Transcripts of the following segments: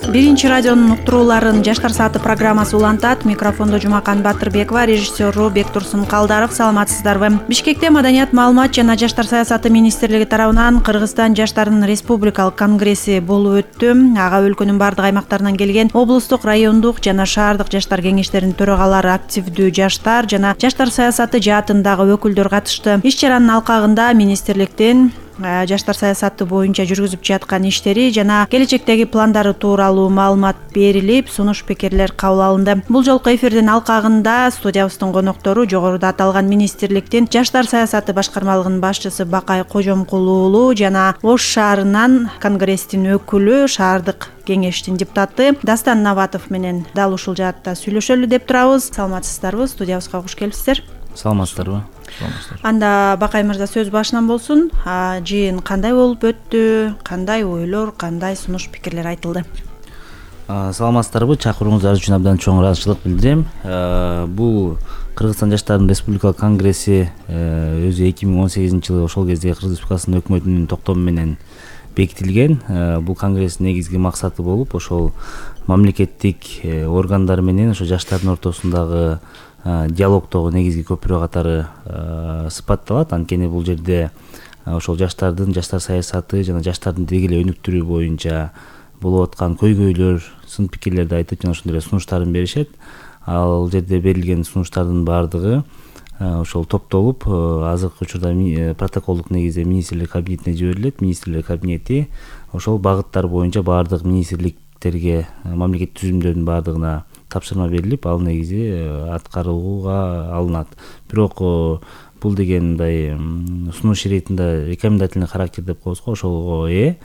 Биринчи радионун уктурууларын Жаштар сааты программасы улантат. Микрофондо Жумакан Батырбекова, режиссеру Бектурсун Калдаров. Саламатсыздарбы? Бишкекте Маданият, маалымат жана жаштар саясаты министрлиги тарабынан Кыргызстан жаштарынын республикалык конгресси болуп өттү. Ага өлкөнүн бардык аймактарынан келген облустук, райондук жана шаардык жаштар кеңештеринин төрагалары, активдүү жаштар жана жаштар саясаты жаатындагы өкүлдөр катышты. Иш-чаранын алкагында министрликтин жаштар саясаты боюнча жүргүзүп жаткан иштери жана келечектеги пландары тууралуу маалымат берилип, сунуш пикирлер кабыл алынды. Бул жолку эфирдин алкагында студиябыздын коноктору жогоруда аталган министрликтин жаштар саясаты башкармалыгынын башчысы Бакай Кожомкул уулу жана Ош шаарынан конгресстин өкүлү, шаардык кеңештин депутаты Дастан Наватов менен дал ушул жаатта сүйлөшөлү деп турабыз. Саламатсыздарбы? Студиябызга куш келипсиздер. Саламатсыздарбы? Анда Бакай мырза сөз башынан болсун. Жыйын кандай болуп өттү? Кандай ойлор, кандай сунуш пикирлер айтылды? Саламатсыздарбы? Чакырууңуздар үчүн абдан чоң ыраазычылык билдирем. Бул Кыргызстан жаштарынын республикалык конгресси өзү 2018-жылы ошол кезде Кыргыз Республикасынын өкмөтүнүн токтому менен бекитилген. Бул конгресстин негизги максаты болуп, ошол мамлекеттик органдар менен ошо жаштардын ортосундагы диалогдогу негизги көпүрө катары сыпатталат. Анткени бул жерде ошол жаштардын жаштар саясаты жана жаштардын деги эле өнүктүрүү боюнча болуп аткан көйгөйлөр, сын пикирлерди айтып жана ошондой эле сунуштарын беришет. Ал жерде берилген сунуштардын баардыгы ошол топтолуп азыркы учурда протоколдук негизде министрлер кабинетине жиберилет. Министрлер кабинети ошол багыттар боюнча баардык министрликтерге, мамлекеттик түзүмдөрдүн баардыгына тапшырма берилип, ал негизи аткарууга алынат. Бирок бул деген мындай сунуш иретинде рекомендательный характер деп коебуз го, ошолго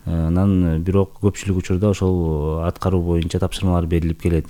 анан бирок көпчүлүк учурда ошол аткаруу боюнча тапшырмалар берилип келет.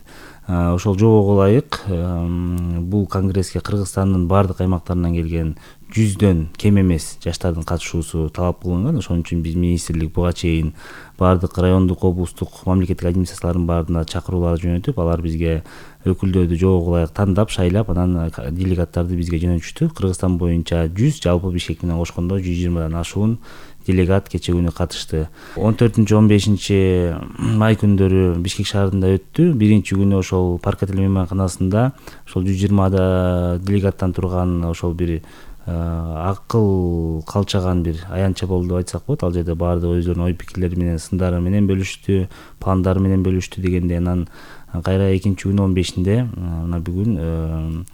Ошол жобого ылайык бул конгресске Кыргызстандын баардык аймактарынан келген 100дөн кем эмес жаштардын катышуусу талап кылынган. Ошон үчүн биз министрлик буга чейин баардык райондук, облустук, мамлекеттик администрациялардын баарына чакыруулар жөнөтүп, алар бизге өкүлдөрдү жобого ылайык тандап, шайлап, анан делегаттарды бизге жөнөтүштү. Кыргызстан боюнча 100, жалпы Бишкек менен кошкондо 120дан ашуун делегат кече күнү катышты. 14-15 май күндөрү Бишкек шаарында өттү. Биринчи күнү ошол парк отель мейманканасында ошол 120 делегаттан турган ошол бир акыл калчаган бир аянтча болду деп айтсак болот. Ал жерде баардыгы өздөрүнүн ой пикирлери менен, сындары менен бөлүштү, пландары менен бөлүштү дегенде, анан кайра экинчи күнү 15-инде мына бүгүн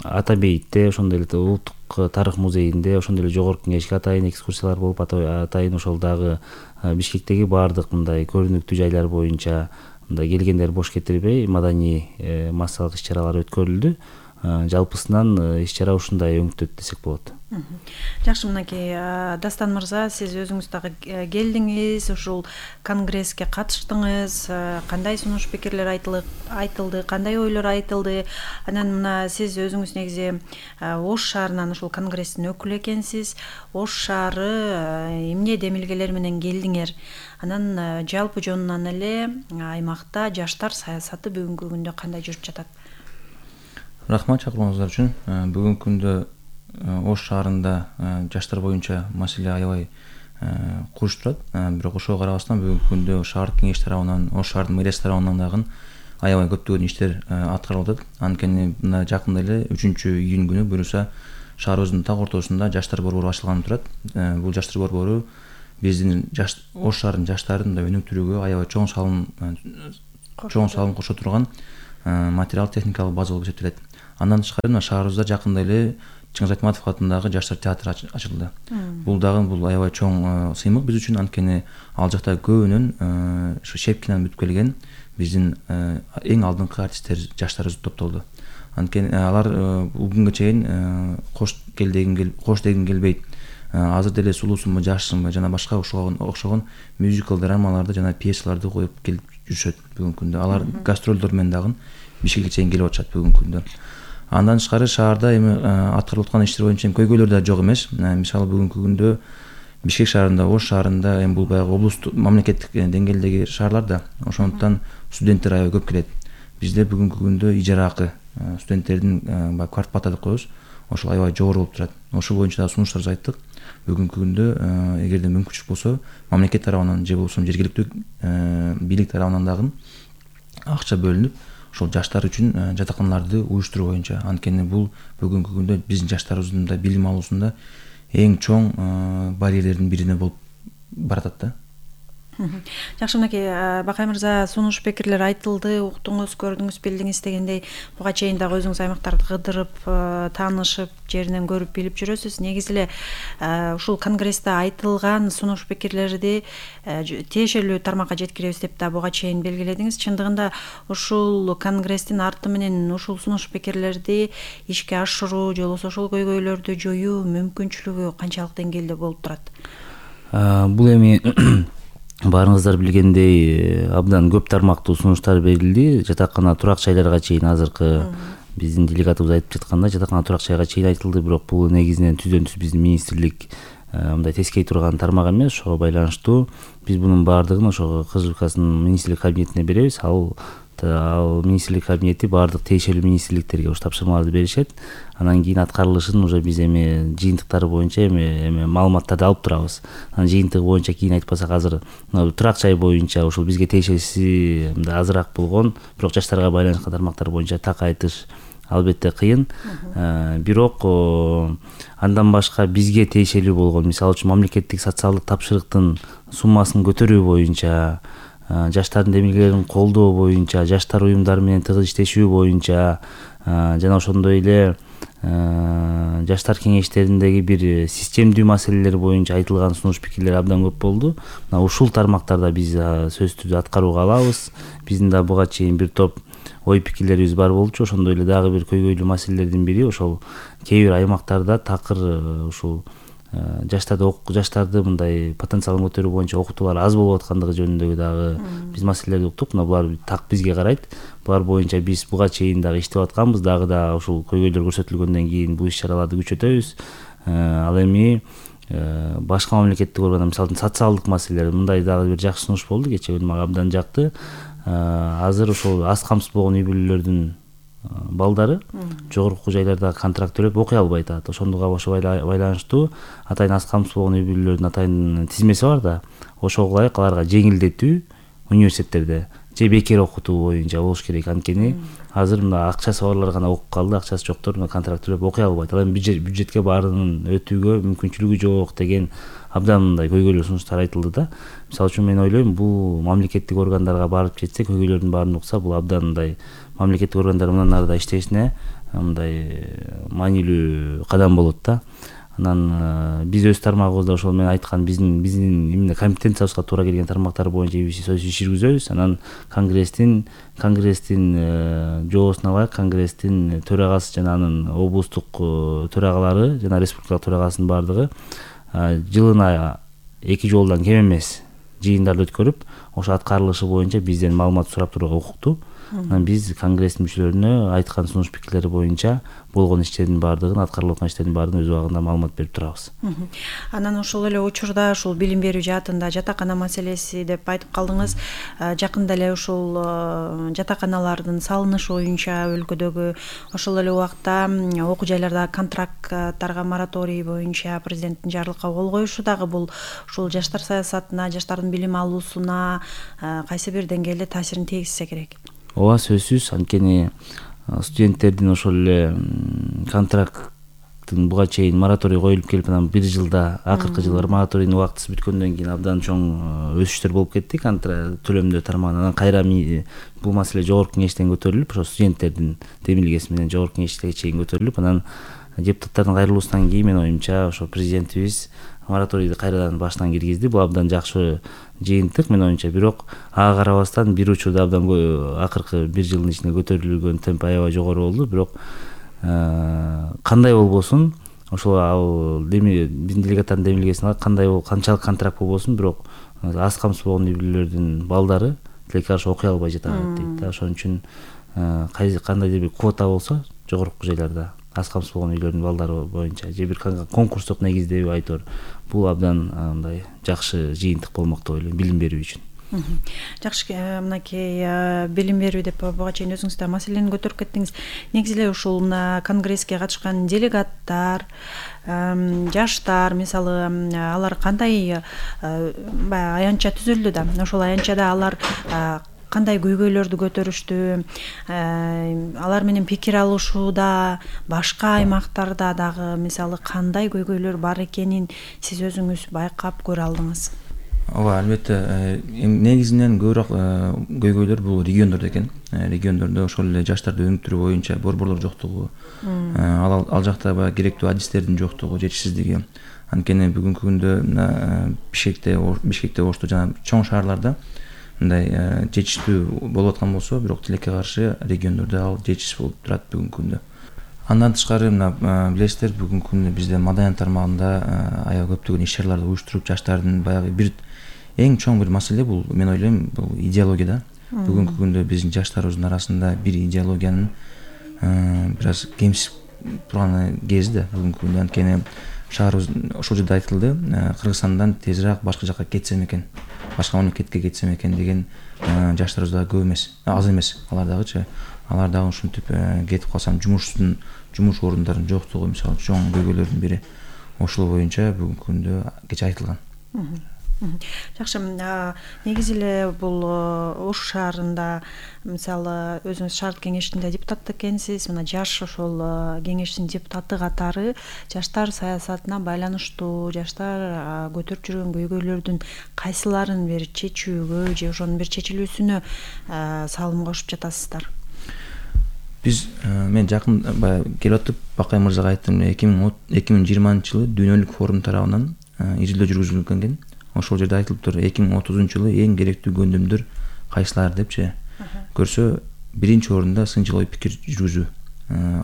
Ата бейитте, ошондой эле улуттук тарых музейинде, ошондой эле жогорку кеңешке атайын экскурсиялар болуп, атайын ошол дагы Бишкектеги баардык мындай көрүнүктүү жайлар боюнча мындай келгендер бош кетирбей маданий массалык иш-чаралар өткөрүлдү. Жалпысынан иш-чара ушундай өңүттөт десек болот. Жакшы, мынакей Дастан мырза, сиз өзүңүз дагы келдиңиз, ушул конгресске катыштыңыз, кандай сунуш пикирлер айтылды, кандай ойлор айтылды? Анан мына сиз өзүңүз негизи Ош шаарынан ушул конгресстин өкүлү экенсиз. Ош шаары эмне демилгелер менен келдиңер? Анан жалпы жонунан эле аймакта жаштар саясаты бүгүнкү күндө кандай жүрүп жатат? Рахмат чакырууңуздар үчүн. Бүгүнкү күндө Ош шаарында жаштар боюнча маселе аябай куруш турат. Бирок ошого карабастан бүгүнкү күндө шаардык кеңеш тарабынан, Ош шаардын мэриясы тарабынан дагы аябай көптөгөн иштер аткарылып атат. Анткени мына жакында эле 3-июнь күнү буюрса шаарыбыздын так ортосунда жаштар борбору ачылганы турат. Бул жаштар борбору биздин Ош шаарынын жаштарын өнүктүрүүгө аябай чоң салым кошо турган материал техникалык база болуп эсептелет. Андан тышкары мына шаарыбызда жакында эле Чыңгыз Айтматов атындагы жаштар театры ачылды. Бул аябай чоң сыймык биз үчүн, анткени ал жакта көбүнөн ушу Шепкинен бүтүп келген биздин эң алдыңкы артисттер жаштарыбыз топтолду. Анткени алар бүгүнгө чейин кош дегим келбейт, азыр деле сулуусунбу, жашсынбы жана башка окшогон мюзикл драмаларды жана пьесаларды коюп келип жүрүшөт бүгүнкү күндө. Алар гастролдор менен дагы Бишкекке чейин келип атышат бүгүнкү күндө. Андан тышкары шаарда эми аткарылып аткан иштер боюнча көйгөйлөр да жок эмес. Мисалы бүгүнкү күндө Бишкек шаарында, Ош шаарында эми бул баягы облустук, мамлекеттик деңгээлдеги шаарлар да, ошондуктан студенттер аябай көп келет. Бизде бүгүнкү күндө ижара акы студенттердин квартплата деп коебуз, ошол аябай жогору болуп турат. Ошол боюнча да сунуштарыбызды айттык. бүгүнкү күндө эгерде мүмкүнчүлүк болсо мамлекет тарабынан же болбосо жергиликтүү бийлик тарабынан дагы акча бөлүнүп ошол жаштар үчүн жатаканаларды уюштуруу боюнча, анткени бул бүгүнкү күндө биздин жаштарыбыздын да билим алуусунда эң чоң барьерлердин бирине болуп баратат да. Жакшы, мынакей Бакай мырза, сунуш пикирлер айтылды, уктуңуз, көрдүңүз, билдиңиз дегендей, буга чейин дагы өзүңүз аймактарды кыдырып, таанышып, жеринен көрүп, билип жүрөсүз. Негизи эле ушул конгрессте айтылган сунуш пикирлерди тиешелүү тармакка жеткиребиз деп да буга чейин белгиледиңиз. Чындыгында ушул конгресстин арты менен ушул сунуш пикирлерди ишке ашыруу же болбосо ошол көйгөйлөрдү жоюу мүмкүнчүлүгү канчалык деңгээлде болуп турат? Бул эми баарыңыздар билгендей абдан көп тармактуу сунуштар берилди. Жатакана, турак жайларга чейин азыркы биздин делегатыбыз айтып жаткандай жатакана, турак жайга чейин айтылды, бирок бул негизинен түздөн түз биздин министрлик мындай тескей турган тармак эмес. Ошого байланыштуу биз бунун баардыгын ошого Кыргыз Республикасынын министрлик кабинетине беребиз. Ал министрлик кабинети баардык тиешелүү министрликтерге ушу тапшырмаларды беришет. Анан кийин аткарылышын уже биз эми жыйынтыктары боюнча эми маалыматтарды алып турабыз. Анан жыйынтыгы боюнча кийин айтпасак, азыр турак жай боюнча ушул бизге тиешеси азыраак болгон, бирок жаштарга байланышкан тармактар боюнча так айтыш албетте кыйын. Бирок андан башка бизге тиешелүү болгон, мисалы үчүн мамлекеттик социалдык тапшырыктын суммасын көтөрүү боюнча, жаштардын демилгелерин колдоо боюнча, жаштар уюмдары менен тыгыз иштешүү боюнча, жана ошондой эле жаштар кеңештериндеги бир системдүү маселелер боюнча айтылган сунуш пикирлер абдан көп болду. Мына ушул тармактарда биз сөзсүз аткарууга алабыз. Биздин да буга чейин бир топ ой пикирлерибиз бар болчу. Ошондой эле дагы бир көйгөйлүү маселелердин бири ошол кээ бир аймактарда такыр ушул жаштарды мындай потенциалын көтөрүү боюнча окутуулар аз болуп аткандыгы жөнүндөгү дагы биз маселелерди уктук. Мына булар так бизге карайт. Булар боюнча биз буга чейин дагы иштеп атканбыз. Дагы да ушул көйгөйлөр көрсөтүлгөндөн кийин бул иш-чараларды күчөтөбүз. Ал эми башка мамлекеттик органдар, мисалы үчүн социалдык маселелер, мындай дагы бир жакшы сунуш болду. Кечээ күнү мага абдан жакты. Азыр ошол аз камсыз болгон үй бүлөлөрдүн балдары жогорку окуу жайларда контракт төлөп окуй албай атат. Ошондуга байланыштуу атайын аз камсыз болгон үй бүлөлөрдүн атайын тизмеси бар да. Ошого ылайык аларга жеңилдетүү университеттерде же бекер окутуу боюнча болуш керек. Анткени азыр мына акчасы барлар гана окуп калды, акчасы жоктор контракт төлөп окуй албайт. Ал эми бюджетке баарынын өтүүгө мүмкүнчүлүгү жок деген абдан мындай көйгөйлүү сунуштар айтылды да. Мисалы үчүн мен ойлойм, бул мамлекеттик органдарга барып жетсе, көйгөйлөрдүн баарын укса, бул абдан мындай мамлекеттик органдар мындан ары да иштешине мындай маанилүү кадам болот да. Анан биз өз тармагыбызда ошол мен айткан биздин именно компетенциябызга туура келген тармактар боюнча сөз иш жүргүзөбүз. Анан конгресстин жоосуна ылайык конгресстин төрагасы жана анын облустук төрагалары жана республикалык төрагасынын баардыгы жылына 2 жолдон кем эмес жыйындарды өткөрүп, ошо аткарылышы боюнча бизден маалымат сурап турууга укуктуу. Анан биз конгресстин мүчөлөрүнө айткан сунуш пикирлери боюнча болгон иштердин баардыгын, аткарылып аткан иштердин баардыгын өз убагында маалымат берип турабыз. Анан ошол эле учурда ушул билим берүү жаатында жатакана маселеси деп айтып калдыңыз. Жакында эле ушул жатаканалардын салынышы боюнча өлкөдөгү ошол эле убакта окуу жайларда контракттарга мораторий боюнча президенттин жарлыкка кол коюшу дагы бул ушул жаштар саясатына, жаштардын билим алуусуна кайсы бир деңгээлде таасирин тийгизсе керек? Ооба, сөзсүз. Анткени студенттердин ошол эле контракттын буга чейин мораторий коюлуп келип, анан бир жылда акыркы жылдары мораторийдин убактысы бүткөндөн кийин абдан чоң өсүштөр болуп кетти төлөмдөө тармагынан. Анан кайра бул маселе жогорку кеңештен көтөрүлүп, ошо студенттердин демилгеси менен жогорку кеңешке чейин көтөрүлүп, анан депутаттардын кайрылуусунан кийин менин оюмча ошо президентибиз мораторийди кайрадан башынан киргизди. Бул абдан жакшы жыйынтык менин оюмча. Бирок ага карабастан бир учурда абдан акыркы бир жылдын ичинде көтөрүлгөн темп аябай жогору болду. Бирок кандай болбосун, ошол ал биздин делегаттардын демилгесине канчалык контракт болбосун, бирок аз камсыз болгон үй бүлөлөрдүн балдары тилекке каршы окуй албай жатат дейт да. Ошон үчүн кандайдыр бир квота болсо жогорку жайларда аз камсыз болгон үйлөрдүн балдары боюнча же бир конкурстук негиздеби айтор, бул абдан мындай жакшы жыйынтык болмок деп ойлойм билим берүү үчүн. Жакшы, мынакей билим берүү деп буга чейин өзүңүз да маселени көтөрүп кеттиңиз. Негизи эле ушул конгресске катышкан делегаттар, жаштар, мисалы, алар кандай баягы аянтча түзүлдү да, ошол аянтчада алар кандай көйгөйлөрдү көтөрүштү, алар менен пикир алышууда башка аймактарда дагы мисалы кандай көйгөйлөр бар экенин сиз өзүңүз байкап көрө алдыңыз? Ооба, албетте, негизинен көбүрөөк көйгөйлөр бул региондордо экен. Региондордо ошол эле жаштарды өнүктүрүү боюнча борборлор жоктугу, ал жакта баягы керектүү адистердин жоктугу, жетишсиздиги. Анткени бүгүнкү күндө Бишкекте, Ошто жана чоң шаарларда мындай жетиштүү болуп аткан болсо, бирок тилекке каршы региондордо ал жетишсиз болуп турат бүгүнкү күндө. Андан тышкары билесиздер, бүгүнкү күндө бизде маданият тармагында аябай көптөгөн иш-чараларды уюштуруп, жаштардын баягы бир эң чоң бир маселе бул, мен ойлойм, бул идеология да. Бүгүнкү күндө биздин жаштарыбыздын арасында бир идеологиянын бир аз кемсип турган кези да бүгүнкү күндө. Анткени шаарыбыз ошол жерде айтылды, Кыргызстандан тезирээк башка жака кетсем экен, башка мамлекетке кетсем экен деген жаштарыбыз дагы көп эмес, аз эмес. Алар дагычы, алар дагы ушинтип кетип калсам, жумуш орундарын жоктугу мисалы чоң көйгөйлөрдүн бири. Ошол боюнча бүгүнкү күндө кечээ айтылган. Жакшы, негизи эле бул Ош шаарында мисалы өзүңүз шаардык кеңештин депутаты экенсиз. Мына жаш ошол кеңештин депутаты катары жаштар саясатына байланыштуу, жаштар көтөрүп жүргөн көйгөйлөрдүн кайсыларын бир чечүүгө же ошонун бир чечилүүсүнө салым кошуп жатасыздар? Мен жакын келип атып Бакай мырзага айттым, 2020-жылы дүйнөлүк форум тарабынан изилдөө жүргүзүлгөн экен. Ошол жерде айтылыптыр, 2030-жылы эң керектүү көндүмдөр кайсылар депчи. Көрсө, биринчи орунда сынчыл ой пикир жүргүзүү,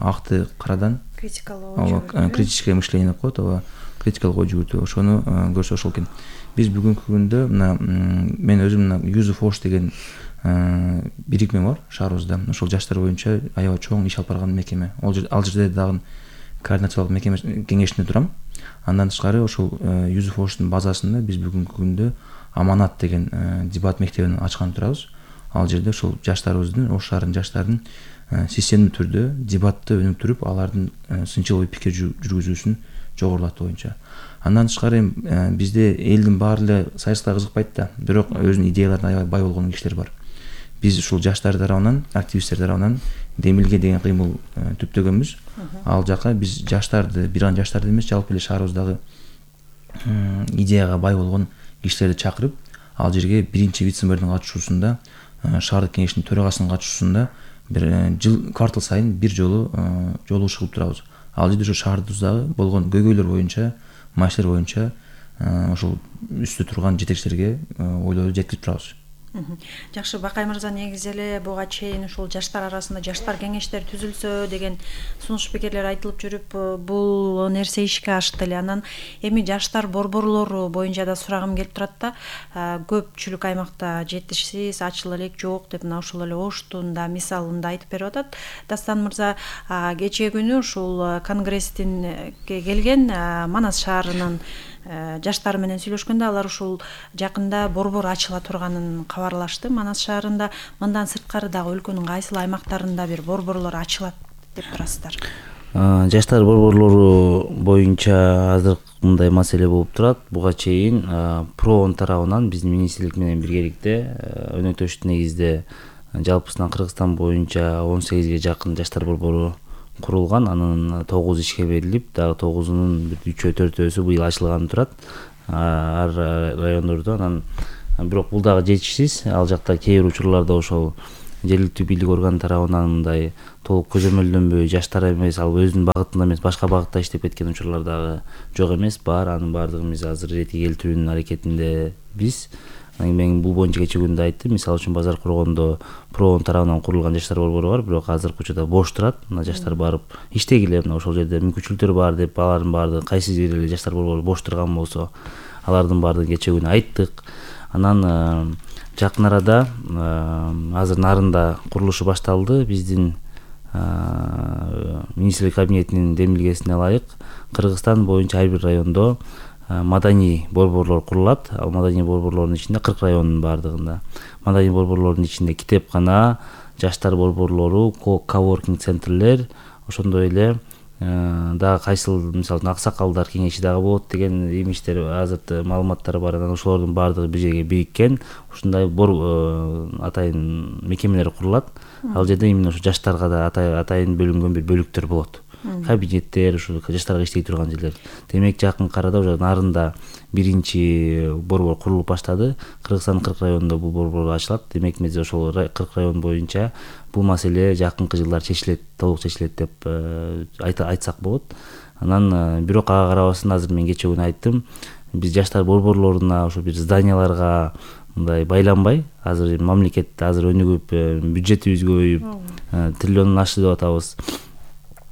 акты карадан критическое мышление деп коет, ооба, критикалык ой жүгүртүү. Ошону көрсө ошол экен. Биз бүгүнкү күндө мен өзүм Youth Force деген бирикме бар шаарыбызда. Ошол жаштар боюнча аябай чоң иш алып барган мекеме. Ал жерде дагы координациялык мекеме кеңешинде турам. Андан тышкары ошол Youth Force'дун базасында биз бүгүнкү күндө Аманат деген дебат мектебин ачкан турабыз. Ал жерде ошол жаштарыбыздын, Ош шаарынын жаштарын системдүү түрдө дебатты өнүктүрүп, алардын сынчыл ой пикир жүргүзүүсүн жогорулатуу боюнча. Андан тышкары бизде элдин баары эле саясатка кызыкпайт да, бирок өзүнүн идеяларына аябай бай болгон кишилер бар. Биз ушул жаштар тарабынан, активисттер тарабынан Демилге деген кыймыл түптөгөнбүз. Ал жака биз жаштарды, бир гана жаштарды эмес, жалпы эле шаарыбыздагы идеяга бай болгон кишилерди чакырып, ал жерге биринчи вице-мэрдин катышуусунда, шаардык кеңештин төрагасынын катышуусунда бир квартал сайын бир жолу жолугуш кылып турабыз. Ал жерде ошо шаарыбыздагы болгон көйгөйлөр боюнча, маселелер боюнча ошол үстү турган жетекчилерге ойлорду жеткирип турабыз. Жакшы, Бакай мырза, негизи эле буга чейин ушул жаштар арасында жаштар кеңештери түзүлсө деген сунуш пикирлер айтылып жүрүп, бул нерсе ишке ашты эле. Анан эми жаштар борборлору боюнча да сурагым келип турат да. Көпчүлүк аймакта жетишсиз, ачыла элек жок деп мына ошол эле Оштун да мисалында айтып берип атат. Дастан мырза, кечээ күнү ушул конгресстин келген Манас шаарынын жаштары менен сүйлөшкөндө алар ушул жакында борбор ачыла турганын кабарлашты. Манас шаарында, мындан сырткары дагы өлкөнүн кайсыл аймактарында бир борборлор ачылат деп турасыздар? Жаштар борборлору боюнча азыр мындай маселе болуп турат. Буга чейин ПРООН тарабынан биздин министрлик менен биргеликте өнөктөштүк негизде жалпысынан Кыргызстан боюнча 18ге жакын жаштар борбору курулган. Анын 9 ишке берилип, дагы 9-унун 3-4-өсү быйыл ачылганы турат ар райондордо. Анан бирок бул дагы жетишсиз. Ал жакта кээ бир учурларда ошол жергиликтүү бийлик орган тарабынан мындай толук көзөмөлдөнбөй, жаштар эмес, ал өзүнүн багытында эмес, башка багытта иштеп кеткен учурлар дагы жок эмес, бар. Анын баардыгын биз азыр иретке келтирүүнүн аракетиндебиз. Мен бул боюнча кечээ күндө айттым. Мисалы үчүн базар коргондо ПРООН тарабынан курулган жаштар борбору бар, бирок азыркы учурда бош турат. Мына жаштар барып иштегиле, мына ошол жерде мүмкүнчүлүктөр бар деп, алардын баардыгы кайсы жерде эле жаштар борбору бош турган болсо, алардын баардыгын кечээ күнү айттык. Анан жакын арада азыр Нарында курулушу башталды. Биздин министрлик кабинетинин демилгесине ылайык Кыргызстан боюнча ар бир райондо маданий борборлор курулат. Ал маданий борборлордун ичинде 40 райондун баардыгында маданий борборлордун ичинде китепкана, жаштар борборлору, коворкинг центрлер, ошондой эле дагы кайсыл мисалы аксакалдар кеңеши дагы болот деген имиштер азыр маалыматтар бар. Анан ошолордун баардыгы бир жерге бириккен ушундай атайын мекемелер курулат. Ал жерде именно ошо жаштарга да атайын бөлүнгөн бир бөлүктөр болот. Кабинеттер, ушу жаштарга иштей турган жерлер. Демек жакынкы арада уже нарында биринчи борбор курулуп баштады. Кыргызстандын 40 районунда бул борбор ачылат. Демек биз ошол 40 район боюнча бул маселе жакынкы жылдар чечилет, толук чечилет деп айтсак болот. Анан бирок ага карабастан азыр мен кечээ күнү айттым, биз жаштар борборлоруна ошо бир зданияларга мындай байланбай, азыр мамлекет азыр өнүгүп, бюджетибиз көбөйүп, триллиондон ашты деп атабыз.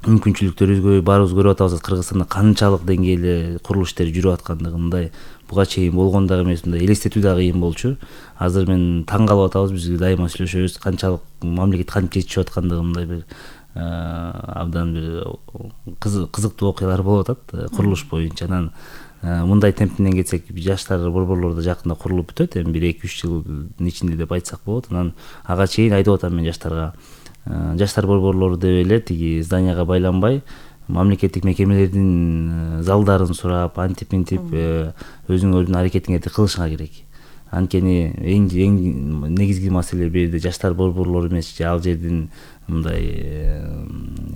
Мүмкүнчүлүктөрүбүз көбөйүп, баарыбыз көрүп атабыз Кыргызстанда канчалык деңгээлде курулуш иштери жүрүп аткандыгын. Мындай буга чейин болгон дагы эмес, мындай элестетүү дагы кыйын болчу. Азыр мен таң калып атабыз, биз дайыма сүйлөшөбүз, канчалык мамлекет кантип жетишип аткандыгын, мындай бир абдан бир кызыктуу окуялар болуп атат курулуш боюнча. Анан мындай темпинен кетсек, жаштар борборлору да жакында курулуп бүтөт, эми 1-2-3 жылдын ичинде деп айтсак болот. Анан ага чейин айтып атам мен жаштарга, жаштар борборлору деп эле тиги зданияга байланбай, мамлекеттик мекемелердин залдарын сурап, антип-минтип өзүңөрдүн аракетиңерди кылышыңар керек. Анткени эң негизги маселе бул жерде жаштар борборлору эмес, ал жердин мындай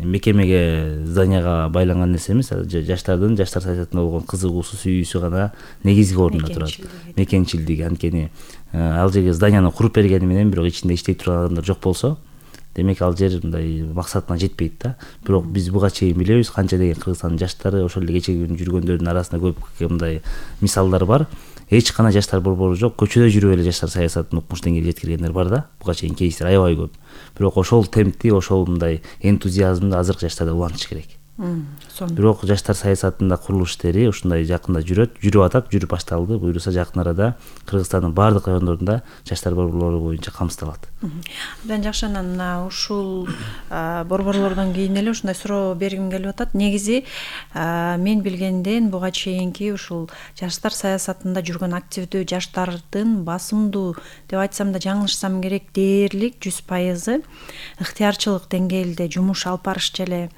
мекемеге, зданияга байланган нерсе эмес, жаштардын жаштар саясатына болгон кызыгуусу, сүйүүсү гана негизги орунда турат. Мекенчилдиги. Анткени ал жерге зданияны куруп бергени менен бирок ичинде иштей турган адамдар жок болсо, демек ал жер мындай максатына жетпейт да. Бирок биз буга чейин билебиз канча деген Кыргызстандын жаштары, ошол эле кечеги күнү жүргөндөрдүн арасында көп мындай мисалдар бар. Эч кандай жаштар борбору жок, көчөдө жүрүп эле жаштар саясатын укмуш деңгээлге жеткиргендер бар да. Буга чейин кейстер аябай көп. Бирок ошол темпти, ошол мындай энтузиазмды азыркы жаштарда улантыш керек. Бирок жаштар саясатында курулуш иштери ушундай жакында жүрүп атат, жүрүп башталды. Буюрса жакын арада Кыргызстандын баардык райондорунда жаштар борборлору боюнча камсыздалат. Абдан жакшы. Анан ушул борборлордон кийин эле ушундай суроо бергим келип атат. Негизи мен билгенден буга чейинки ушул жаштар саясатында жүргөн активдүү жаштардын басымдуу деп айтсам да жаңылышсам керек, дээрлик 100% ыктыярчылык деңгээлде жумуш алып барышчу эле.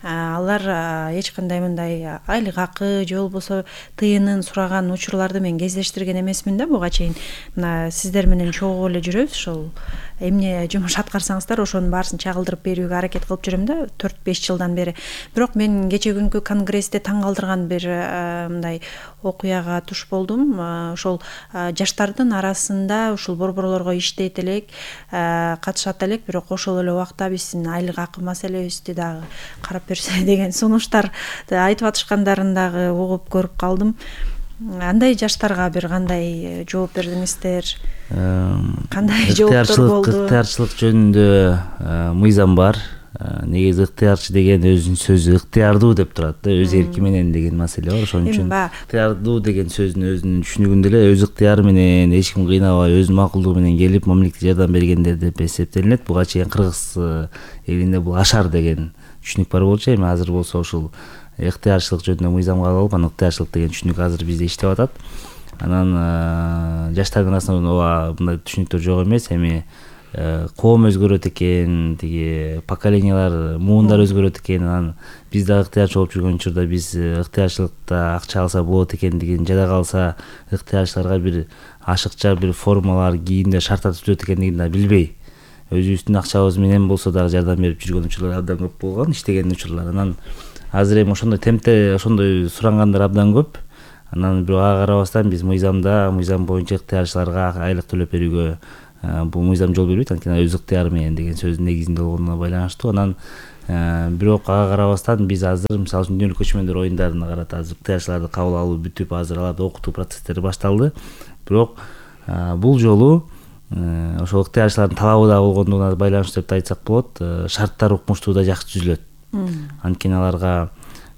Алар эч кандай мындай айлык акы же болбосо тыйынын сураган учурларды мен кездештирген эмесмин да буга чейин. Мына сиздер менен чогуу эле жүрөбүз, ошол эмне жумуш аткарсаңыздар ошонун баарысын чагылдырып берүүгө аракет кылып жүрөм да 4-5 жылдан бери. Бирок мен кече күнкү конгрессте таң калтырган бир мындай окуяга туш болдум. Ошол жаштардын арасында ушул борборлорго иштейт элек, катышат элек, бирок ошол эле убакта биздин айлык акы маселебизди дагы карап берсе деген сунуштар айтып атышкандарын дагы угуп көрүп калдым. Андай жаштарга бир кандай жооп бердиңиздер? Кандай жооптор болду? Ыктыярчылык жөнүндө мыйзам бар. Негизи ыктыярчы деген өзүнүн сөзү ыктыярдуу деп турат да, өз эрки менен деген маселе бар. Ошон үчүн ыктыярдуу деген сөздүн өзүнүн түшүнүгүндө эле өз ыктыяры менен, эч ким кыйнабай, өзүнүн макулдугу менен келип мамлекет жардам бергендер деп эсептелинет. Буга чейин кыргыз элинде бул ашар деген түшүнүк бар болчу. Эми азыр болсо ушул ыктыярчылык жөнүндө мыйзамга алып, анан ыктыярчылык деген түшүнүк азыр бизде иштеп атат. Анан жаштардын арасында мындай түшүнүктөр жок эмес. Эми коом өзгөрөт экен, тиги поколениялар, муундар өзгөрөт экен. Анан биз да ыктыярчы болуп жүргөн учурда биз ыктыярчылыкта акча алса болот экендигин, жада калса ыктыярчыларга бир ашыкча бир формалар, кийимдер, шарттар түзөт экендигин да билбей, өзүбүздүн акчабыз менен болсо дагы жардам берип жүргөн учурлар абдан көп болгон, иштеген учурлар. Анан азыр эми ошондой темпте ошондой сурангандар абдан көп. Анан бирок ага карабастан биз мыйзам боюнча ыктыярчыларга айлык төлөп берүүгө бул мыйзам жол бербейт. Анткени өз ыктыяры менен деген сөздүн негизинде болгонуна байланыштуу. Анан бирок ага карабастан биз азыр мисалы үчүн дүйнөлүк көчмөндөр оюндарына карата азыр ыктыярчыларды кабыл алуу бүтүп, азыр аларды окутуу процесстери башталды. Бирок бул жолу ошол ыктыярчылардын талабы да болгондугуна байланыштуу деп айтсак болот. Шарттар укмуштуу да жакшы түзүлөт. Анткени аларга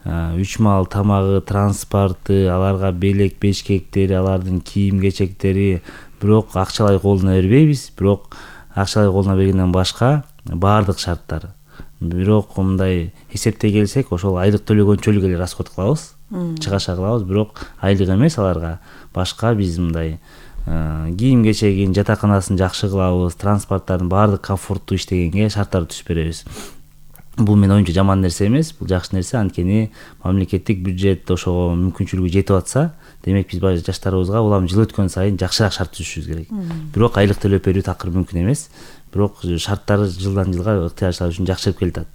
3 маал тамагы, транспорты, аларга белек бешкектери, алардын кийим кечектери, бирок акчалай колуна бербейбиз. Бирок акчалай колуна бергенден башка баардык шарттар. Бирок мындай эсептей келсек, ошол айлык төлөгөнчөлүк эле расход кылабыз. чыгаша кылабыз, бирок айлык эмес аларга. Башка биз мындай кийим кечегин, жатаканасын жакшы кылабыз, транспорттардын баардык комфорттуу иштегенге шарттарды түзүп беребиз. Бул менин оюмча жаман нерсе эмес, бул жакшы нерсе. Анткени мамлекеттик бюджет ошого мүмкүнчүлүгү жетип атса, демек биз жаштарыбызга улам жыл өткөн сайын жакшыраак шарт түзүшүбүз керек. Бирок айлык төлөп берүү такыр мүмкүн эмес. Бирок шарттар жылдан жылга ыктыярчылар үчүн жакшырып келатат.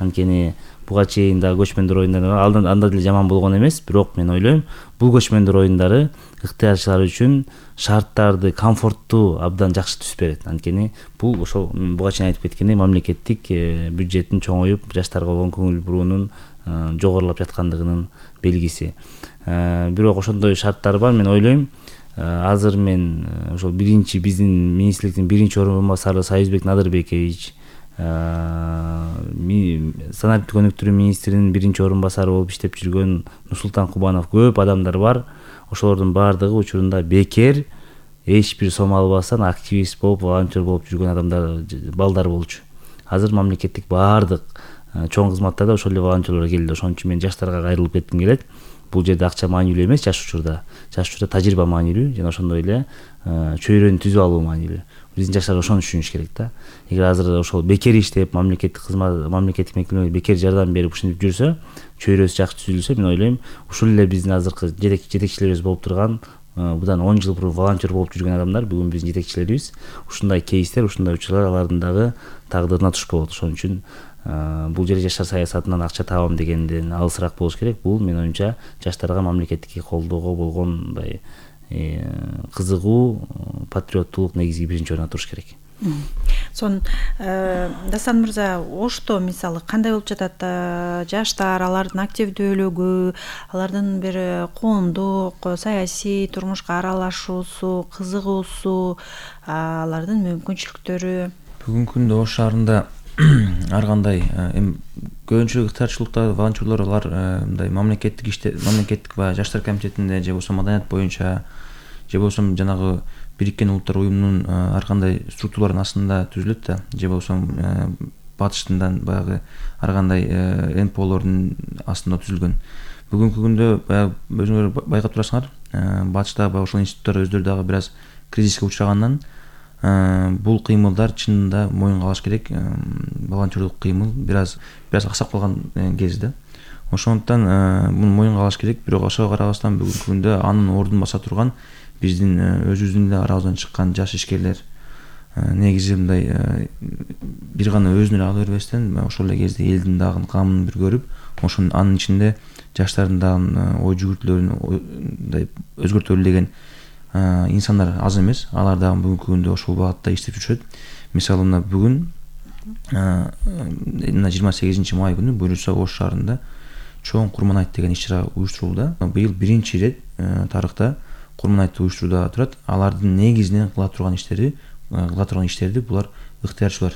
Анткени буга чейин да көчмөндөр оюндары анда деле жаман болгон эмес, бирок мен ойлойм, бул көчмөндөр оюндары ыктыярчылар үчүн шарттарды комфорттуу абдан жакшы түзүп берет. Анткени бул ошол буга чейин айтып кеткендей мамлекеттик бюджеттин чоңоюп, жаштарга болгон көңүл буруунун жогорулап жаткандыгынын белгиси. Бирок ошондой шарттар бар. Мен ойлойм, азыр мен ошол биздин министрликтин биринчи орун басары Союзбек Надырбекович, санариптик өнүктүрүү министринин биринчи орун басары болуп иштеп жүргөн Нурсултан Кубанов, көп адамдар бар. Ошолордун баардыгы учурунда бекер, эч бир сом албастан активист болуп, волонтер болуп жүргөн адамдар, балдар болчу. Азыр мамлекеттик баардык чоң кызматтарда ошол эле волонтерлор келди. Ошон үчүн мен жаштарга кайрылып кетким келет. Бул жерде акча маанилүү эмес, жаш учурда тажрыйба маанилүү жана ошондой эле чөйрөнү түзүп алуу маанилүү. Биздин жаштар ошону түшүнүш керек да. Эгер азыр ошол бекер иштеп, мамлекеттик мекемелерге бекер жардам берип ушинтип жүрсө, чөйрөсү жакшы түзүлсө, мен ойлойм, ушул эле биздин азыркы жетекчилерибиз болуп турган, будан 10 жыл бурун волонтер болуп жүргөн адамдар бүгүн биздин жетекчилерибиз. Ушундай кейстер, ушундай учурлар алардын дагы тагдырына туш болот. Ошон үчүн бул жерде жаштар саясатынан акча табам дегенден алысыраак болуш керек. Бул менин оюмча жаштарга мамлекеттик колдоого болгон мындай кызыгуу, патриоттулук негизги биринчи орунда туруш керек. Сонун Дасан мырза, Ошто мисалы кандай болуп жатат? Жаштар, алардын активдүүлүгү, алардын бир коомдук, саясий турмушка аралашуусу, кызыгуусу, алардын мүмкүнчүлүктөрү. Бүгүнкү күндө Ош шаарында ар кандай көбүнчө ыктыярчылыкта волонтерлор алар мындай мамлекеттик баягы жаштар комитетинде же болбосо маданият боюнча же болбосо жанагы Бириккен Улуттар уюмунун ар кандай структуралардын астында түзүлөт да, же болбосо батыштан баягы ар кандай НПОлордун астында түзүлгөн. Бүгүнкү күндө баягы өзүңөр байкап турасыңар, батышта баягы ошол институттар өздөрү дагы бир аз кризиске учрагандан бул кыймылдар чынында моюнга алыш керек. Волонтерлук кыймыл бир аз аксап калган кез да. Ошондуктан муну моюнга алыш керек. Бирок ошого карабастан бүгүнкү күндө анын ордун баса турган биздин өзүбүздүн эле арабыздан чыккан жаш ишкерлер негизи мындай бир гана өзүнө эле ала бербестен ошол эле кезде элдин дагы камын бир көрүп, ошонун анын ичинде жаштардын дагы ой жүгүртүүлөрүн мындай өзгөртөлү деген инсандар аз эмес. Алар дагы бүгүнкү күндө ошол багытта иштеп жүрүшөт. Мисалы мына бүгүн 28 май күнү буюрса Ош шаарында чоң Курман айт деген иш-чара уюштурулду. Быйыл биринчи ирет тарыхта Курман айтты уюштурууда турат. Алардын негизинен кыла турган иштерди булар ыктыярчылар,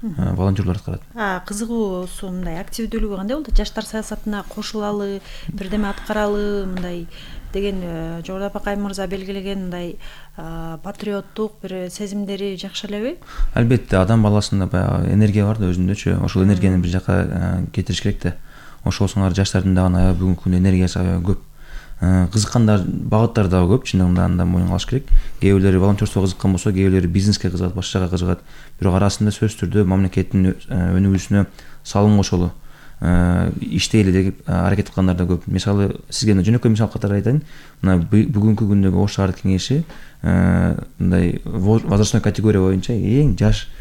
волонтерлор аткарат. Кызыгуусу, мындай активдүүлүгү кандай болду? Жаштар саясатына кошулалы, бирдеме аткаралы мындай деген Жогорду Апакай мырза белгилеген мындай патриоттук бир сезимдери жакшы элеби? Албетте, адам баласында баягы энергия бар да өзүндөчү. Ошол энергияны бир жака кетириш керек да. Ошол соңар жаштардын дагы бүгүнкү күндө энергиясы аябай көп. Кызыккандар багыттар дагы көп, чындыгында анда моюнга алыш керек. Кээ бирлери волонтерствого кызыккан болсо, кээ бирлери бизнеске кызыгат, башка жака кызыгат. Бирок арасында сөзсүз түрдө мамлекеттин өнүгүүсүнө салым кошолу, иштейли деп аракет кылгандар да көп. Мисалы сизге жөнөкөй мисал катары айтайын. Мына бүгүнкү күндөгү Ош шаардык кеңеши мындай возрастной категория боюнча эң жаш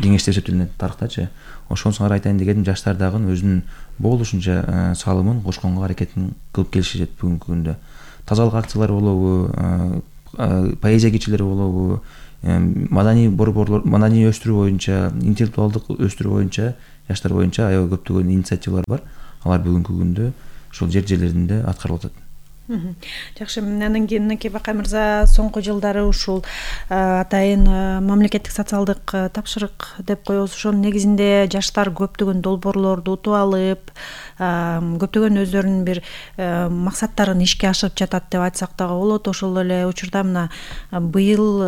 кеңеш деп эсептелинет тарыхтачы. Ошонусуңар айтайын дегеним, жаштар дагы өзүнүн болушунча салымын кошконго аракетин кылып келишет бүгүнкү күндө. Тазалык акциялары болобу, поэзия кечелери болобу, маданий борборлор, маданий өстүрүү боюнча, интеллектуалдык өстүрүү боюнча, жаштар боюнча аябай көптөгөн инициативалар бар. Алар бүгүнкү күндө ошол жерлеринде аткарылып атат. Жакшы, анан кийин мынакей Бакай мырза соңку жылдары ушул атайын мамлекеттик социалдык тапшырык деп коебуз, ошонун негизинде жаштар көптөгөн долбоорлорду утуп алып, көптөгөн өздөрүнүн бир максаттарын ишке ашырып жатат деп айтсак дагы болот. Ошол эле учурда мына быйыл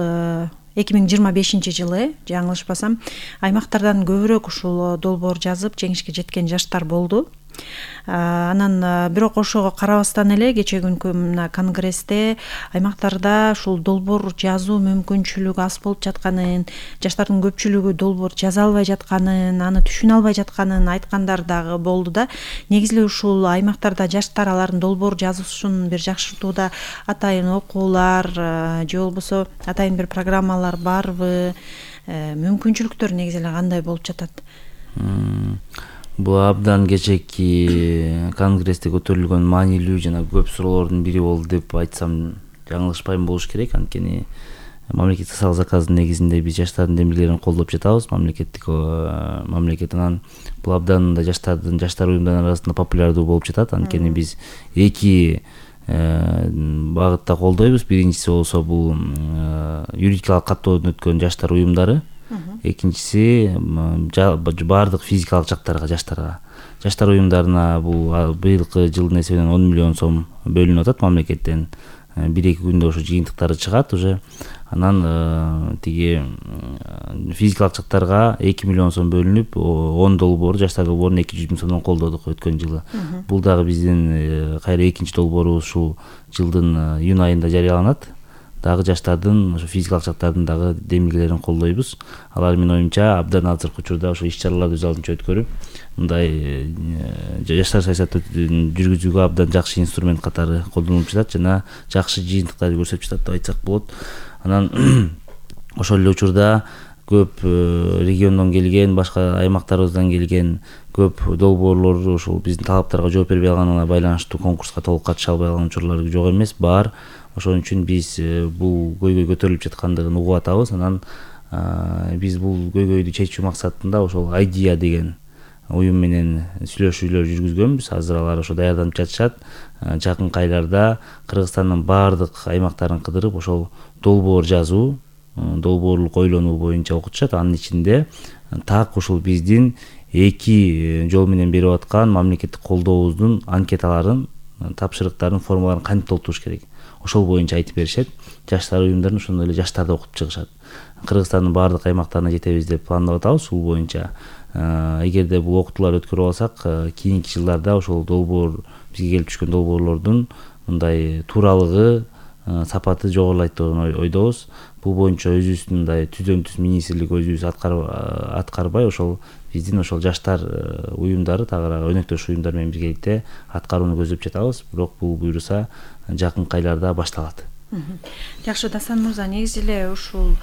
2025 жылы, жаңылышпасам, аймактардан көбүрөөк ушул долбоор жазып жеңишке жеткен жаштар болду. Анан бирок ошого карабастан эле кечээ күнкү мына конгрессте аймактарда ушул долбоор жазуу мүмкүнчүлүгү аз болуп жатканын, жаштардын көпчүлүгү долбоор жаза албай жатканын, аны түшүнө албай жатканын айткандар дагы болду да. Негизи эле ушул аймактарда жаштар алардын долбоор жазуусун бир жакшыртууда атайын окуулар же болбосо атайын бир программалар барбы? Мүмкүнчүлүктөр негизи эле кандай болуп жатат? Бул абдан кечээки конгрессте көтөрүлгөн маанилүү жана көп суроолордун бири болду деп айтсам жаңылышпайм болуш керек. Анткени мамлекеттик социалдык заказдын негизинде биз жаштардын демилгелерин колдоп жатабыз. Мамлекет анан бул абдан да жаштар уюмдарынын арасында популярдуу болуп жатат. Анткени биз эки багытта колдойбуз. Биринчиси болсо бул юридикалык каттоодон өткөн жаштар уюмдары. Экинчиси баардык физикалык жактарга жаштар уюмдарына бул быйылкы жылдын эсебинен 10 миллион сом бөлүнүп атат мамлекеттен. 1-2 күндө ошо жыйынтыктары чыгат уже. Анан тиги физикалык жактарга 2 миллион сом бөлүнүп, 10 долбоор жаштар долбоорун 200 миң сомдон колдодук өткөн жылы. Бул дагы биздин кайра экинчи долбоорубуз ушул жылдын июнь айында жарыяланат. Дагы жаштардын, ошо физикалык жактардын дагы демилгелерин колдойбуз. Алар менин оюмча абдан азыркы учурда ошо иш-чараларды өз алдынча өткөрүп, мындай жаштар саясатын жүргүзүүгө абдан жакшы инструмент катары колдонулуп жатат жана жакшы жыйынтыктарды көрсөтүп жатат деп айтсак болот. Анан ошол эле учурда көп региондон келген, башка аймактарыбыздан келген көп долбоорлор ошол биздин талаптарга жооп бербей калганына байланыштуу конкурска толук катыша албай калган учурлар жок эмес, бар. Ошон үчүн биз бул көйгөй көтөрүлүп жаткандыгын угуп атабыз. Анан биз бул көйгөйдү чечүү максатында ошол Idea деген уюм менен сүйлөшүүлөр жүргүзгөнбүз. Азыр алар ошо даярданып жатышат. Жакынкы айларда Кыргызстандын баардык аймактарын кыдырып ошол долбоор жазуу, долбоорлук ойлонуу боюнча окутушат. Анын ичинде так ушул биздин эки жол менен берип аткан мамлекеттик колдообуздун анкеталарын, тапшырыктарын, формаларын кантип толтуруш керек, ошол боюнча айтып беришет. Жаштар уюмдарын ошондой эле жаштарды окутуп чыгышат. Кыргызстандын баардык аймактарына жетебиз деп пландап атабыз. Бул боюнча эгерде бул окутууларды өткөрүп алсак, кийинки жылдарда ошол долбоор, бизге келип түшкөн долбоорлордун мындай тууралыгы, сапаты жогорулайт деп ойдобуз. Бул боюнча өзүбүздүн мындай түздөн-түз министрлик өзүбүз аткарбай, ошол биздин ошол жаштар уюмдары, тагыраак өнөктөш уюмдар менен биргеликте аткарууну көздөп жатабыз. Бирок бул буюрса жакынкы айларда башталат. Жакшы, Дасан мырза, негизи эле ушул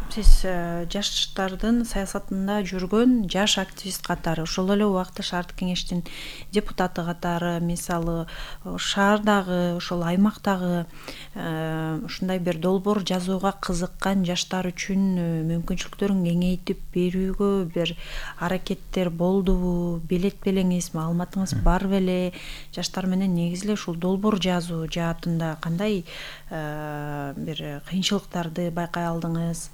сиз жаштардын саясатында жүргөн жаш активист катары, ошол эле убакта шаардык кеңештин депутаты катары, мисалы шаардагы, ошол аймактагы ушундай бир долбоор жазууга кызыккан жаштар үчүн мүмкүнчүлүктөрүн кеңейтип берүүгө бир аракеттер болдубу, белет белеңиз, маалыматыңыз бар беле? Жаштар менен негизи эле ушул долбоор жазуу жаатында кандай бир кыйынчылыктарды байкай алдыңыз?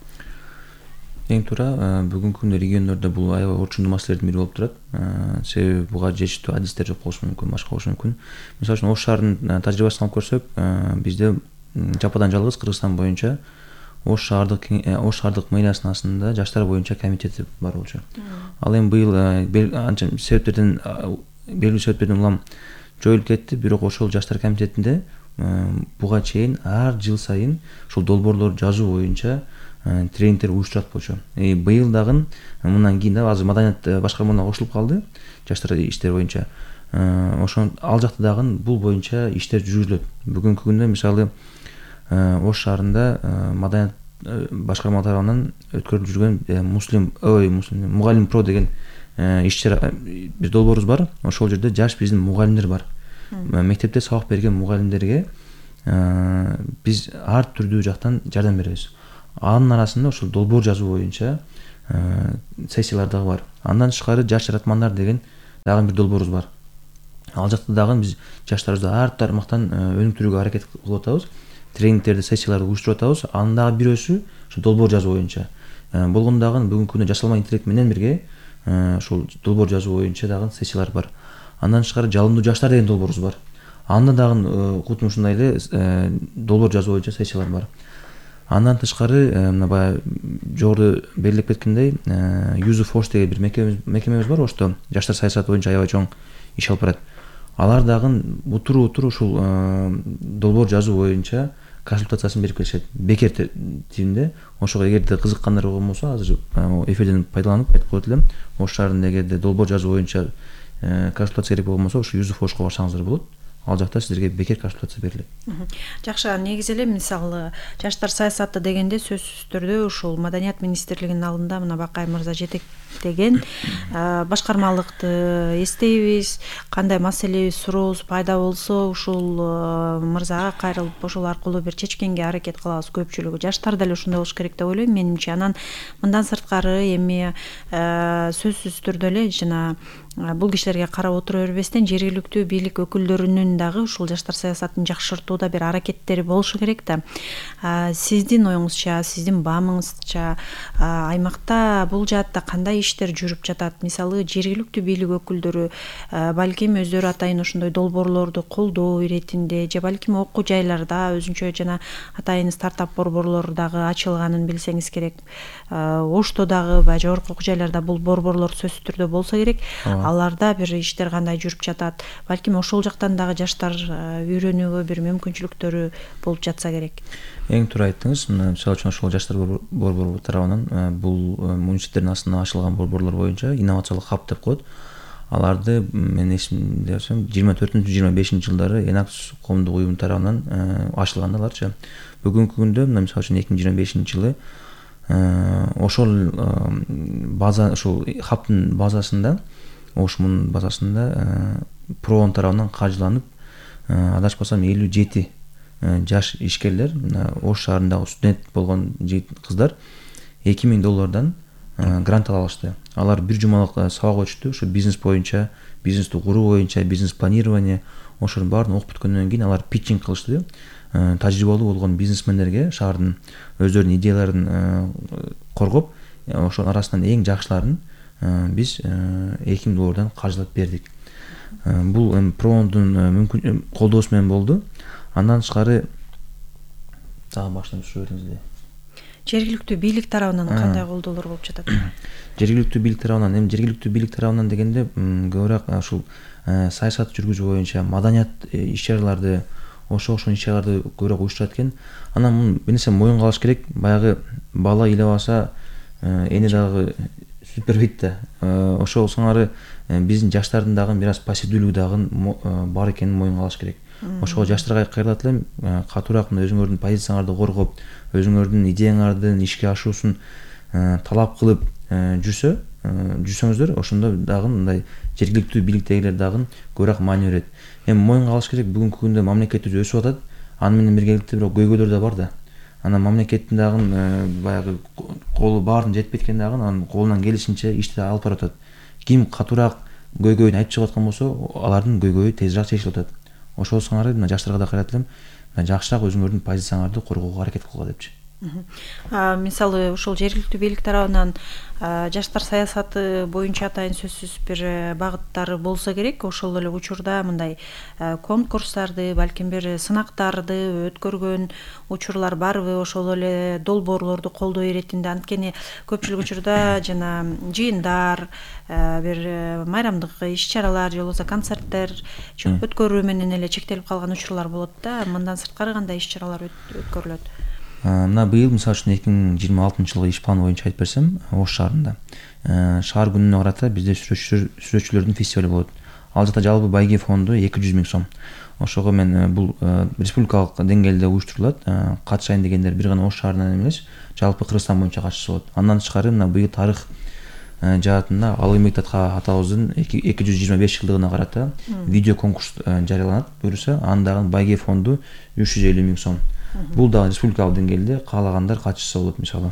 Эң туура, бүгүнкү күндө региондордо бул аябай орчундуу маселелердин бири болуп турат. Себеби буга жетиштүү адистер жок болушу мүмкүн, башка болушу мүмкүн. Мисалы үчүн Ош шаарынын тажрыйбасын алып көрсөк, бизде жападан жалгыз Кыргызстан боюнча Ош шаардык мэриясынын астында жаштар боюнча комитет бар болчу. Ал эми быйыл анча белгилүү себептерден улам жоюлуп кетти, бирок ошол жаштар комитетинде буга чейин ар жыл сайын ушул долбоорлорду жазуу боюнча тренингдер уюштурат болчу. Быйыл дагы мындан кийин да азыр маданият башкармаларына кошулуп калды жаштар иштери боюнча. Ошон ал жакта дагы бул боюнча иштер жүргүзүлөт. Бүгүнкү күндө мисалы Ош шаарында маданият башкарма тарабынан өткөрүлүп жүргөн Мугалим Про деген иш-чара бир долбоорубуз бар. Ошол жерде жаш биздин мугалимдер бар. Мектепте сабак берген мугалимдерге биз ар түрдүү жактан жардам беребиз. Анын арасында ошол долбоор жазуу боюнча сессиялар дагы бар. Андан тышкары жаш жаратмандар деген дагы бир долбоорубуз бар. Ал жакта дагы биз жаштарыбызды ар тармактан өнүктүрүүгө аракет кылып атабыз. Тренингдерди, сессияларды уюштуруп атабыз. Анын дагы бирөөсү ошо долбоор жазуу боюнча. Болгондо дагы бүгүнкү күндө жасалма интеллект менен бирге ошол долбоор жазуу боюнча дагы сессиялар бар. Андан тышкары жалындуу жаштар деген долбоорубуз бар. Анда дагы кутун ушундай эле долбоор жазуу боюнча сессиялар бар. Андан тышкары мына баягы жогоруда белгилеп кеткендей UseForce деген бир мекемебиз бар. Ошто жаштар саясаты боюнча аябай чоң иш алып барат. Алар дагы утуру ушул долбоор жазуу боюнча консультациясын берип келишет. Бекер типинде. Ошого эгерде кызыккандар болгон болсо, азыр эфирден пайдаланып айтып коет элем. Ош шаарында эгерде долбоор жазуу боюнча консультация керек болгон болсо, ушу UseForce'ко барсаңыздар болот. Ал жакта сиздерге бекер консультация берилет. Жакшы, негизи эле мисалы жаштар саясаты дегенде сөзсүз түрдө ушул Маданият министрлигинин алдында мына Бакай мырза жетектеген башкармалыкты эстейбиз. Кандай маселе сурообуз пайда болсо ушул мырзага кайрылып ошол аркылуу бир чечкенге аракет кылабыз. Көпчүлүгү жаштар деле ошондой болуш керек деп ойлойм менимче. Анан мындан сырткары эми сөзсүз түрдө эле жана бул кишилерге карап отура бербестен жергиликтүү бийлик өкүлдөрүнүн дагы ушул жаштар саясатын жакшыртууда бир аракеттери болушу керек да. Сиздин оюңузча, сиздин баамыңызча аймакта бул жаатта кандай иштер жүрүп жатат? Мисалы жергиликтүү бийлик өкүлдөрү балким өздөрү атайын ошондой долбоорлорду колдоо иретинде же балким окуу жайларда өзүнчө жана атайын стартап борборлор дагы ачылганын билсеңиз керек. Ошто дагы баягы жогорку окуу жайларда бул борборлор сөзсүз түрдө болсо керек. Аларда бир иштер кандай жүрүп жатат? Балким ошол жактан дагы жаштар үйрөнүүгө бир мүмкүнчүлүктөрү болуп жатса керек. Эң туура айттыңыз. Мисалы үчүн ошол жаштар борбору тарабынан бул муниципалитеттердин астына ачылган борборлор боюнча инновациялык хаб деп коет. Аларды мен эсимде берсем 24-25 жылдары Enactus коомдук уюм тарабынан ачылган аларчы. Бүгүнкү күндө мисалы үчүн 2025 жылы ошол база, ошол хабтын базасында, ошмун базасында Проон тарабынан каржыланып, адашпасам 57 жаш ишкерлер, Ош шаарындагы студент болгон жигит кыздар $2000 грант ала алышты. Алар бир жумалык сабак өтүштү. Ушу бизнес боюнча, бизнести куруу боюнча, бизнес планирование, ошонун баарын окуп бүткөндөн кийин алар питчинг кылышты. Тажрыйбалуу болгон бизнесмендерге шаардын өздөрүнүн идеяларын коргоп, ошонун арасынан эң жакшыларын биз $2000 каржылап бердик. Бул Проондун колдоосу менен болду. Андан тышкары дагы баштан түшүрөбүз. Жергиликтүү бийлик тарабынан кандай колдоолор болуп жатат? Жергиликтүү бийлик тарабынан, жергиликтүү бийлик тарабынан дегенде көбүрөөк ушул саясат жүргүзүү боюнча маданият иш-чараларды, ошол иш-чараларды көбүрөөк уюштурат экен. Анан бир нерсе моюнга алыш керек. Баягы бала ыйлабаса эни дагы сүт бербейт да. Ошол сыңары биздин жаштардын дагы бир аз пассивдүүлүгү дагы бар экенин моюнга алыш керек. Ошого жаштарга кайрылат элем, катуураак өзүңөрдүн позицияларды коргоп, өзүңөрдүн идеяңардын ишке ашуусун талап кылып жүрсөңүздөр, ошондо дагы мындай жергиликтүү бийликтегилер дагы көбүрөөк маани берет. Эми моюнга алыш керек, бүгүнкү күндө мамлекетибиз өсүп атат. Аны менен биргеликте бирок көйгөйлөр да бар да. Анан мамлекеттин дагы баягы колу баарын жетпейт экен дагы, анан колунан келишинче ишти алып барып атат. Ким катуураак көйгөйүн айтып чыгып аткан болсо, алардын көйгөйү тезирээк чечилип атат. Ошол сыңары мына жаштарга да кайрат элем, жакшыраак өзүңөрдүн позицияларды коргоого аракет кылгыла депчи. Мисалы ушул жергиликтүү бийлик тарабынан жаштар саясаты боюнча атайын сөзсүз бир багыттары болсо керек. Ошол эле учурда мындай конкурстарды, балким бир сынактарды өткөргөн учурлар барбы? Ошол эле долбоорлорду колдоо иретинде, анткени көпчүлүк учурда жана жыйындар, бир майрамдык иш-чаралар же болбосо концерттер өткөрүү менен эле чектелип калган учурлар болот да. Мындан сырткары кандай иш-чаралар өткөрүлөт? Мына быйыл мисалы үчүн 2026 жылгы иш планы боюнча айтып берсем, Ош шаарында шаар күнүнө карата бизде сүрөтчүлөрдүн фестивали болот. Ал жакта жалпы байге фонду 200 000 сом. Ошого мен бул республикалык деңгээлде уюштурулат. Катышайын дегендер бир гана Ош шаарынан эмес, жалпы Кыргызстан боюнча катышса болот. Андан тышкары мына быйыл тарых жаатында Ал эмгектатка атабыздын 225 жылдыгына карата видео конкурс жарыяланат. Буюрса, андагы байге фонду 350 000 сом. Бул да республикалык деңгээлде каалагандар катышса болот мисалы.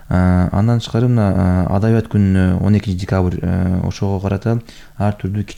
Андан тышкары мына адабият күнүнө 12 декабрь ошого карата ар түрдүү